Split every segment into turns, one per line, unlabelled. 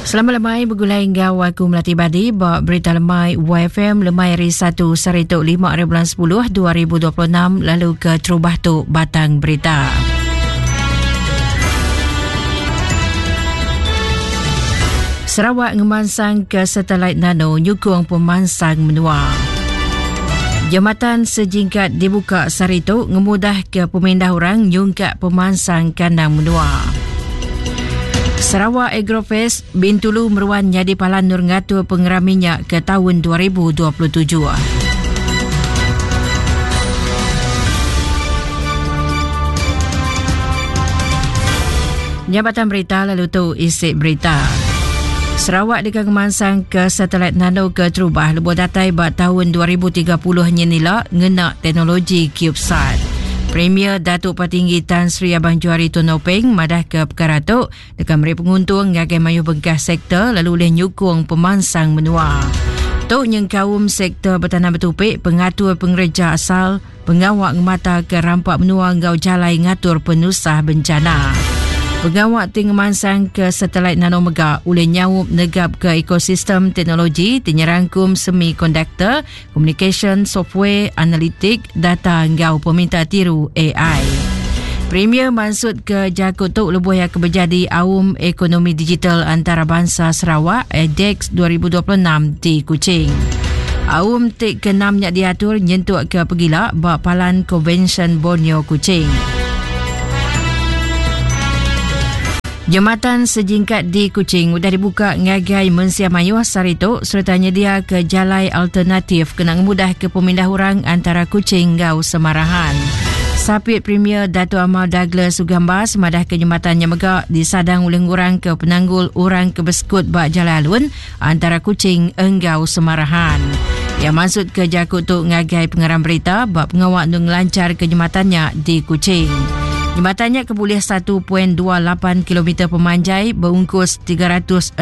Selamat lemai begulai enggau aku Melati Badi ba Berita Lemai YFM lemai hari 1 sehari tu 5 hari bulan 10 2026 lalu ke terubah tu batang berita. Sarawak ngemansang ke satelit nano nyukung pemansang menua. Jematan sejingkat dibuka sehari tu ngemudah ke pemindah orang nyungkak pemansang kandang menua. Sarawak Agrofest Bintulu meruan nyadi palan nur ngatur pengerami nya ke taun 2027. Jabatan Berita lalu tu isi berita. Sarawak deka ngemansang ke satelit nano ke terubah lebuh datai ba taun 2030 nyenila ngena teknologi CubeSat. Premier Datuk Patinggi Tan Sri Abang Johari Tun Openg madahka pekara tu deka meri penguntung ngagai mayuh bengkah sektor lalu ulih nyukung pemansang menua. Tu nyengkaum sektor betanam betupi, pengatur pengereja asal, pengawa ngemataka rampa menua enggau jalai ngatur penusah bencana. Pengawa ti ngemansangka satelit nano mega ulih nyaup negapka ekosistem teknologi ti nyerangkum semikonduktor, komunikasyen, software, analitik, data enggau peminta tiru ai. Premier mansutka jaku tu lebuh iya ke bejadi Aum Ekonomi Digital Antarabansa Sarawak, ADEX 2026 di Kuching. Aum ti keenam nya diatur nyentuk ke pegila ba Palan Konvensyen Borneo Kuching. Jematan sejingkat di Kuching udah dibuka ngagai mensia mayuh sehari tu sereta nyediaka jalai alternatif kena ngemudahka pemindah orang antara Kuching enggau Semarahan. Sapit Premier Datuk Amar Douglas Ugambas madahka jematan nya mega disadang ulih ngurangka penanggul orang ke besekut ba jalai alun antara Kuching enggau Semarahan. Iya mansutka jaku tu ngagai pengarang berita ba pengawa endur ngelancharka jematan nya di Kuching. Jematan nya ke bulih 1.28 kilometer pemanjai beungkus 365.7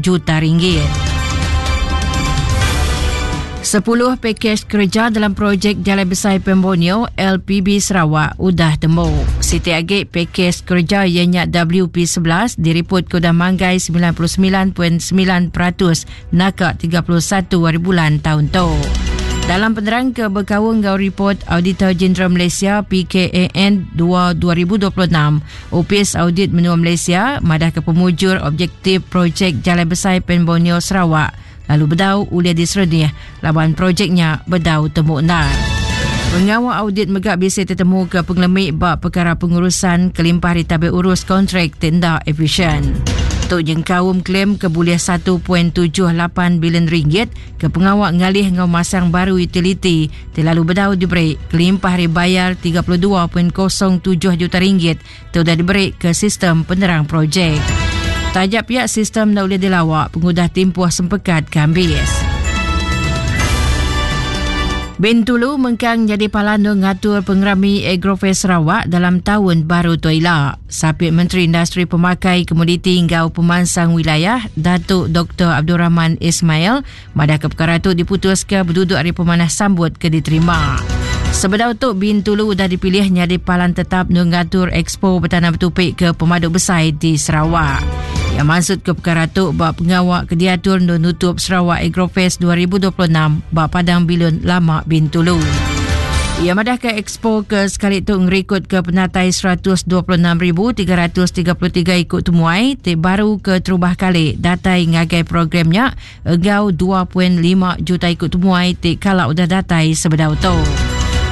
juta ringgit. Sepuluh pakej kereja dalam projek Jalai Besai Pan Borneo LPB Sarawak udah tembu. Siti agi pakej kereja iya nya WP11 diriput ke udah manggai 99.9% naka 31 hari bulan taun tu. Dalam penerang ke bekaul enggau ripot Auditor Jeneral Malaysia PKAN 2 2026, Opis Audit Menua Malaysia madahka pemujur objektif projek Jalai Besai Pan Borneo Sarawak lalu bedau ulih diserenih laban projek nya bedau temu endar. Pengawa audit mega bisi tetemuka pengelemi ba pekara pengurusan kelimpah ari tabir urus kontrak ti enda efisien. Tu nyengkaum klaim ke bulih 1.78 bilion ringgit ke pengawa ngalih enggau masang baru utiliti ti lalu bedau diberi kelimpah ari bayar 32.07 juta ringgit ti udah diberi ke sistem penerang projek. Taja pia sistem enda ulih dilawa pengudah timpuh sempekat ke ambis. Bintulu mengkang nyadi palan ngatur pengerami Agrofest Sarawak dalam taun baru tu ila. Sapit Menteri Industri Pemakai Komoditi enggau Pemansang Wilayah Datuk Doktor Abdul Rahman Ismail Madahka pekara tu diputuska beduduk ari pemanah sambut ke diterima. Sebedau tu, Bintulu udah dipilih nyadi palan tetap ngatur Expo Betanam Betupi ke pemadu besai di Sarawak. Iya mansutka pekara tu ba pengawa ke diatur endur nutup Sarawak Agrofest 2026 ba Padang Bilun Lama Bintulu. Iya madahka Expo ke sekali tu ngerikutka penatai 126,333 iku temuai ti baru keterubah kali datai ngagai program nya enggau 2.5 juta iku temuai ti kala udah datai sebedau tu.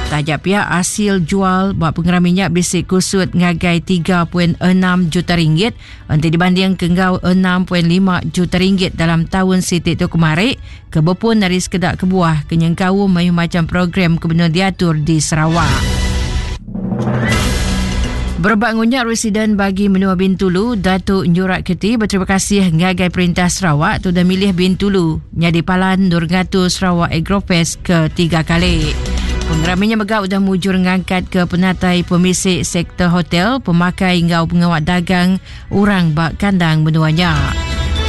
Taja pia asil jual ba pengerami nya bisi kusut ngagai 3.6 juta ringgit enti dibanding ke enggau 6.5 juta ringgit dalam taun siti tu kemari ke bepun ari sekeda kebuah ke nyengkaum mayuh macham program ke benung diatur di Sarawak. Berebak ngunya Residen Bagi Menua Bintulu, Datuk Nyurak Keti beterima kasih ngagai Perintah Sarawak tu udah milih Bintulu nyadi palan endur ngatur Sarawak Agrofest ke tiga kali. Pengerami nya mega udah mujur ngangkat ke penatai pemisi sektor hotel, pemakai enggau pengawa dagang orang ba kandang menua nya.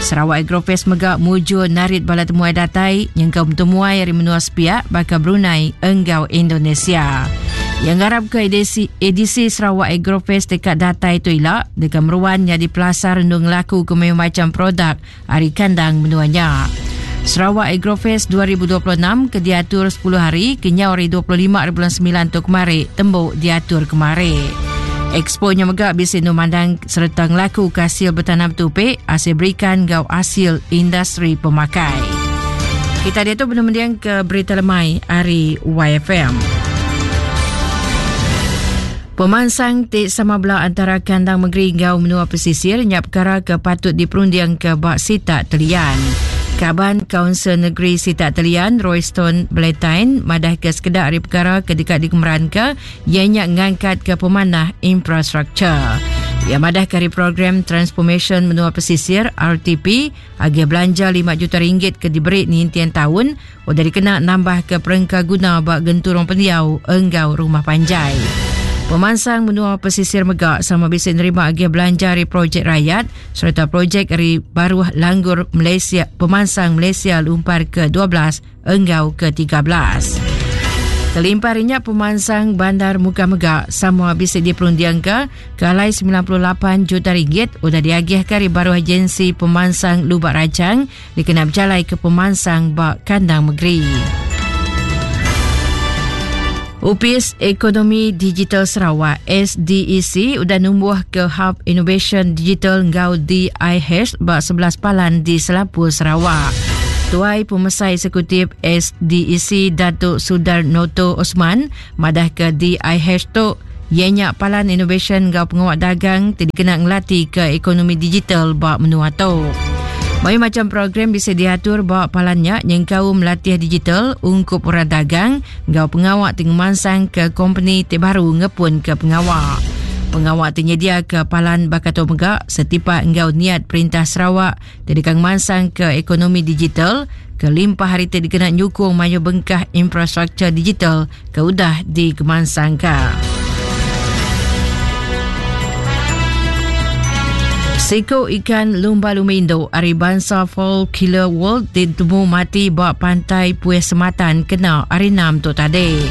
Sarawak Agrofest mega mujur narit bala temuai datai nyengkaum temuai ari menua sepiak baka Brunei enggau Indonesia. Iya ngarapka edisi, edisi Sarawak Agrofest deka datai tu ila deka meruan nyadi pelasar endur ngelakuka mayuh macham produk ari kandang menua nya. Sarawak Agrofest 2026 ke diatur 10 hari kenyau hari 25 hari bulan 9 tu kemari tembu diatur kemari. Expo nya mega bisi endur mandang sereta ngelakuka hasil betanam tupi, hasil berikan enggau hasil industri pemakai. Kita diatu benung mending ke berita lemai ari YFM. Pemansang ti sama bela antara kandang mengeri enggau menua pesisir nya pekara ke patut diperundingka ba sitak Telian. Kaban Kaunsil Negeri Sitak Telian, Royston Bletine madahka sekeda ari pekara ke deka dikemeranka iya nya ngangkatka pemanah infrastruktur. Iya madahka ari program Transformation Menua Pesisir, RTP, Agih belanja 5 juta ringgit ke diberi ninting taun udah dikena nambahka perengka guna ba genturung pendiau enggau rumah panjai. Pemansang menua pesisir mega sama bisi nerima agih belanja ari projek rayat sereta projek ari baruh langgur Malaysia Pemansang Malaysia Lumpar ke-12 enggau ke-13. Kelimpah ari nya, pemansang Bandar Mukah mega sama bisi diperundingka ke alai 98 juta ringgit udah diagihka ari baruh Agensi Pemansang Lubak Rajang dikena bejalaika pemansang ba kandang mengeri. Opis Ekonomi Digital Sarawak SDEC udah numbuhka Hub Innovation Digital enggau DIH ba 11 palan di selampur Sarawak. Tuai Pemesai Eksekutif SDEC Datuk Sudar Noto Osman madahka DIH tu iya nya palan inovasyen enggau pengawa dagang ti dikena ngelatika ekonomi digital ba menua tu. Mayuh macham program bisi diatur ba palan nya nyengkaum latih digital ungkup orang dagang enggau pengawa ti ngemansangka kompeni ti baru ngepunka pengawa. Pengawa ti nyediaka palan baka tu mega setipak enggau niat Perintah Sarawak ti deka ngemansangka ekonomi digital kelimpah ari ti dikena nyukung mayuh bengkah infrastruktur digital ke udah dikemansangka. Siku ikan lumba lumba indu ari bansa Fall Killer World ditemu mati ba pantai Pueh Sematan kena hari 6 tu tadi.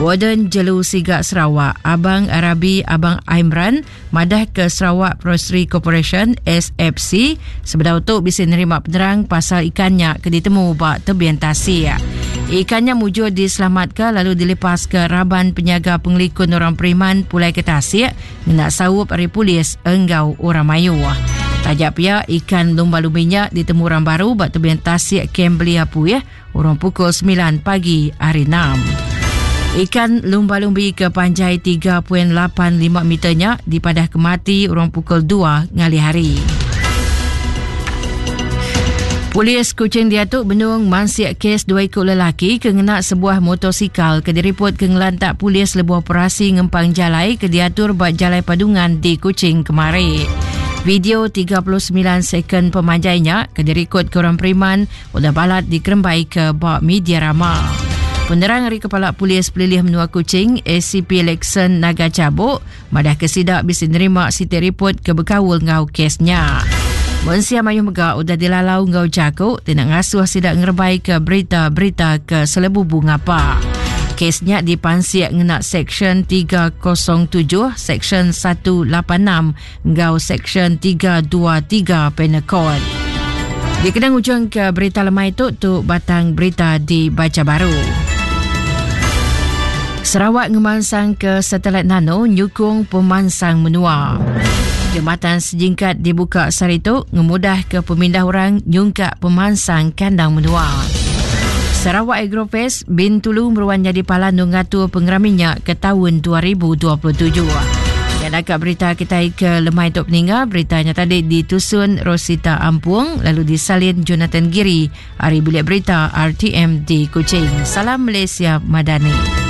Warden Jelu Siga Sarawak, Abang Arabi Abang Aimran madah ke Sarawak Forestry Corporation SFC sebedau tu bisi nerima penerang pasal ikan nya ke ditemu ba tebing tasik. Ikan nya mujur diselamatka lalu dilepaska raban penyaga pengelikun orang periman pulai ke tasik ngena saup ari polis enggau orang mayuh. Taja pia, ikan lumba-lumbi nya ditemu orang baru ba tebing tasik Kem Belia Puih urung pukul 9 pagi hari 6. Ikan lumba-lumbi ke panjai 3.85 meter nya dipadah ke mati urung pukul 2 ngalih hari. Polis Kuching diatu benung mansik kes dua iku lelaki ke ngena sebuah motosikal ke diripot ke ngelantak polis lebuh operasi ngempang jalai ke diatur ba Jalai Padungan di Kuching kemari. Video 39 second pemanjai nya ke dirikod ke orang periman udah balat dikerembai ke ba media rama. Penerang ari Kepala Polis Pelilih Menua Kuching, ACP Lexon Naga Cabuk, Madah ke sida bisi nerima siti ripot ke bekaul enggau kes nya. Mensia mayuh mega udah dilalau enggau jaku ti enda ngasuh sida ngerebaika berita-berita ke selebubu ngapa. Kes nya dipansik ngena Seksyen 307, Seksyen 186 enggau Seksyen 323 Penal Code. Dikena ngujungka berita lemai tu, tu batang berita dibacha baru. Sarawak ngemansangka satelit nano nyukung pemansang menua. Jematan sejingkat dibuka sehari tu ngemudahka pemindah orang nyungkak pemansang kandang menua. Sarawak Agrofest Bintulu meruan nyadi palan ngatur pengerami nya ke taun 2027. Ya naka berita kitai ke lemai tu peninga, berita nya tadi ditusun Rosita Ampung lalu disalin Jonathan Giri ari Bilik Berita RTM di Kuching. Salam Malaysia Madani.